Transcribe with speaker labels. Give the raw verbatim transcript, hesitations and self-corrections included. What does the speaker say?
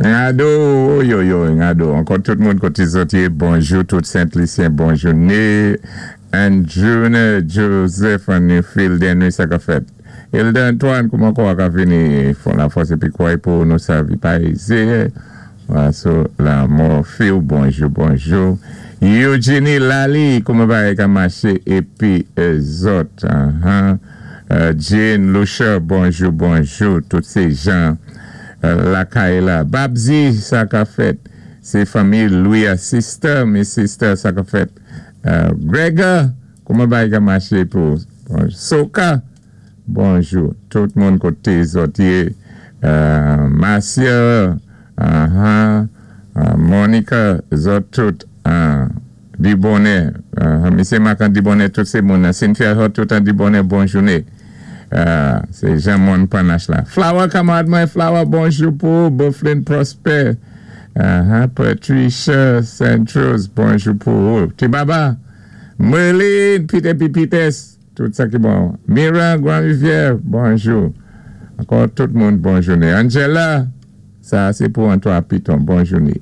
Speaker 1: Ngado, yo yo, ngado. Ankò tout moun koté zòt yé, bonjou, tout Sent-Lisyen, bon jouné. Andrew Joseph an Newfield, Henry, sa ka fèt. Hilda Antoine, kouman kwa ka vini fon la fòs épi kwè pou nou sèvi pa ézé. So, la Morphil, bonjou, bonjou. Eugenie Lali, kouman bagay ka maché épi zòt. Uh-huh. Uh, Jane Lucia, bonjou, bonjou. Tout sé jan uh, lakay la. Babzi, sa ka fèt. Sé fanmi Louis sister, mi sister, sa ka fèt. Uh, Gregor, kouman bagay ka maché pou? Soka, bonjou. Tout moun koté zòt yé. Uh, Marcia, uh-huh. uh, Monica, zòt tout. Uh, Dibonè, uh, Misyé Makan Dibonè, tout sé moun. Cynthia Hot, tout an Dibonè, bon jouné. Uh, sé Jean-Mon Panache la. Flower, kanmarad mwen, Flower, bonjou pou Bufflin Prosper. Uh-huh. Patricia Saint-Rose, bonjou pou Tibaba, Merlin, Peter P. Peters, tout sa ki bon. Mira Grand-Rivière, bonjou. Ankò tout moun, bon jouné. Angela, sa sé pou Antoine Piton, bon jouné.